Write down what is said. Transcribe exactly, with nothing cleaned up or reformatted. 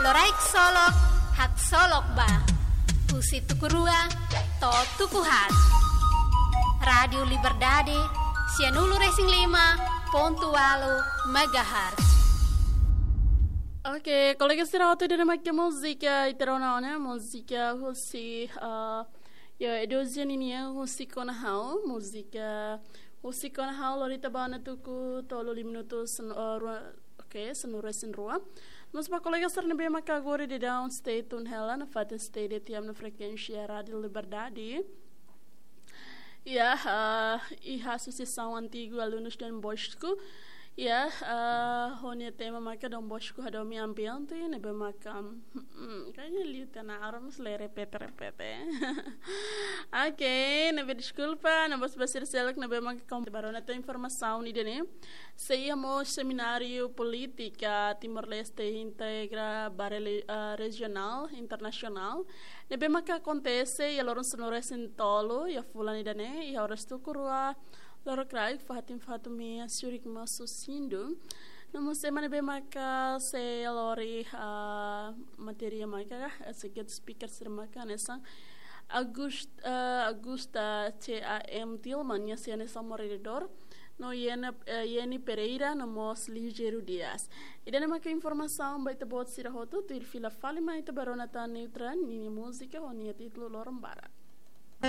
Loraik Solok, Haksolok Ba. Husi tuku rua to'o tuku haat. Rádiu Liberdade, sianulu-resin-lima pontu ualu megahertz. Oke, kolega sira hotu, ida-ne'e mak múzika ita rona ona, múzika husi, eh, ya, Edosia ninian, Husik Ona Ha'u, múzika Husik Ona Ha'u, lori ita ba ona tuku tolu lima minutu sen-, eh, rua, oke, sanulu-resin-rua. Mós ba kolega sira ne'ebé maka agora daudaun stay tune hela nafatin stay D T M no frekuénsia Rádiu Liberdade. Ya, eh, iha Asosiasaun Antigu Alunus Dom Bosco. Ya, eh, ho nia tema maka Dom Bosco hadomi ambiente, ne'ebé maka, hmm, kayaknya liu tana aram sele repete-repete. Oke, ne'ebé deskulpa, ne'ebé bosbas sira seluk, ne'ebé maka kom-, baru na tu informasaun ida-ne'e. Sei iha mós semináriu polítika Timor-Leste integra ba reli-, eh, rejionál, internasionál. Ne'ebé maka akontese iha loron sanulu-resin-tolu iha fulan ida-ne'e, iha oras tuku rua lorokraik, fatin fatin meia, Zurich mós husi Sindu. No mós ema ne'ebé maka sei lori, ah, matéria maka, eh, sei guest speaker sira maka hanesan August, eh, Augusta C A M Tilman, nia sei hanesan moderadór. No Yena, eh, Yeni Pereira, no mós Ligero Dias. Ida-ne'e maka informasaun ba ita-boot sira hotu, tuir fila fali mai ita ba rona tan Neutra ninia múzika ho nia títulu Loron Barak.